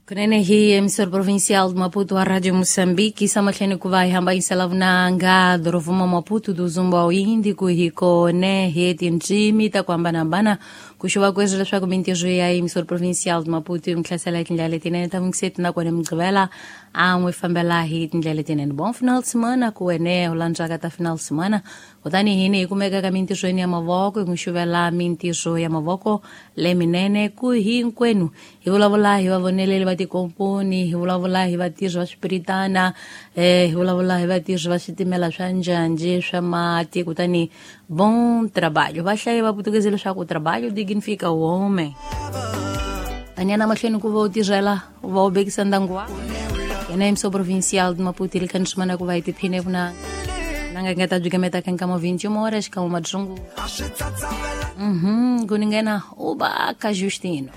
Kunene hi emissor provincial de Maputo a Rádio Moçambique, samahleni ku va hi hambanyisela vunanga dorovuma Maputo do Zumba ao Índico hi kone hi tindzimi ta ku hambanahambana ku xuva kweswi leswaku mintirho ya emissor provincial de Maputo yi n'wi hlasela hi tindlela letinene ta vungiseti nakona Mugqivela a n'wi fambela hi tindlela letinene. Bom final de semana ku wene u landzaka ta final de semana. Kutani hini hi kumeka ka mintirhweni ya mavoko hi n'wi xuvela mintirho ya mavoko leminene ku hinkwenu. Hi vulavula hi vavoneleli va tikomponi, hi vulavula hi vatirhi va swipiritana, hi vulavula hi vatirhi va switimela swa njhanjhi swa mati. Kutani bom trabalho. Va hlaye va putukezi leswaku trabalho dignifica o homem. Taniana mahlweni ku va u tirhela u va u bekisa ndyangu wa yena emso provincial de Maputo ili kanishimana ku va hi tiphine vunanga nanga nga ta byi gameta ka nkama 21 horas xikan'we madzungu. Kuningena ubaka Justino.